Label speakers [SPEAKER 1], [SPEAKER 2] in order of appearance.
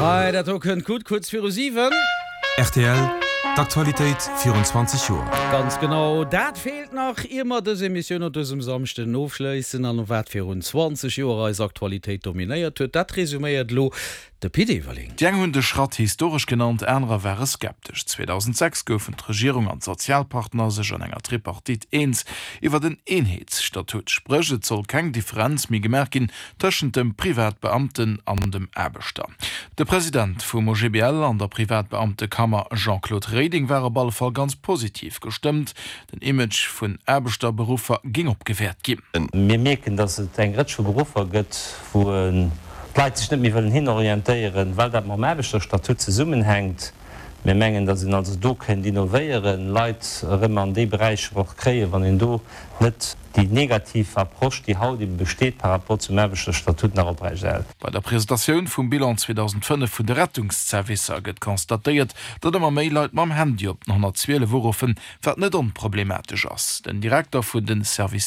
[SPEAKER 1] Hei, dat do kënnt gutt, kuerz viru 7.
[SPEAKER 2] Rtl, D'Aktualitéit virun 20 Joer.
[SPEAKER 1] Ganz genau dat feelt nach, ier mer dës Emissioun op dësem Samschden ofschléissen. An wat virun 20 Joer eis Aktualitéit dominéiert huet, dat resuméiert elo de Pit Everling.
[SPEAKER 3] Déi eng hunn de Schratt historesch genannt, anerer ware skeptesch. 2006 goufen d'Regierung an d'Sozialpartner sech an enger Tripartite eens iwwert en Eenheetsstatut. Spréch, et soll keng Differenz méi gemaach ginn tëschent dem Privatbeamten an dem Aarbechter. De President vum OGBL an der Privatbeamtekammer Jean-Claude Reding war op alle Fall ganz positiv gestëmmt. Den Image vun Aarbechterberuffer géing opgewäert ginn.
[SPEAKER 4] Mir mierken, datt et eng Rëtsch vu Beruffer gëtt, wou d'Leit sech net méi wëllen hinorientéieren, well dat mam Aarbechterstatut zesummenhänkt. Mir mengen, datt een also do kéint innovéieren, Leit erëm an déi Beräicher och kréien, wann een do net déi negativ Approche, déi haut ebe besteet par rapport zum Aarbechterstatut, nach oprechterhält.
[SPEAKER 3] Bei der Presentatioun vum Bilan 2005 vun de Rettungszervicer gëtt constatéiert, datt ëmmer méi Leit mam Handy op den 112 uruffen, wat net onproblematesch ass. Den Direkter vun de Services.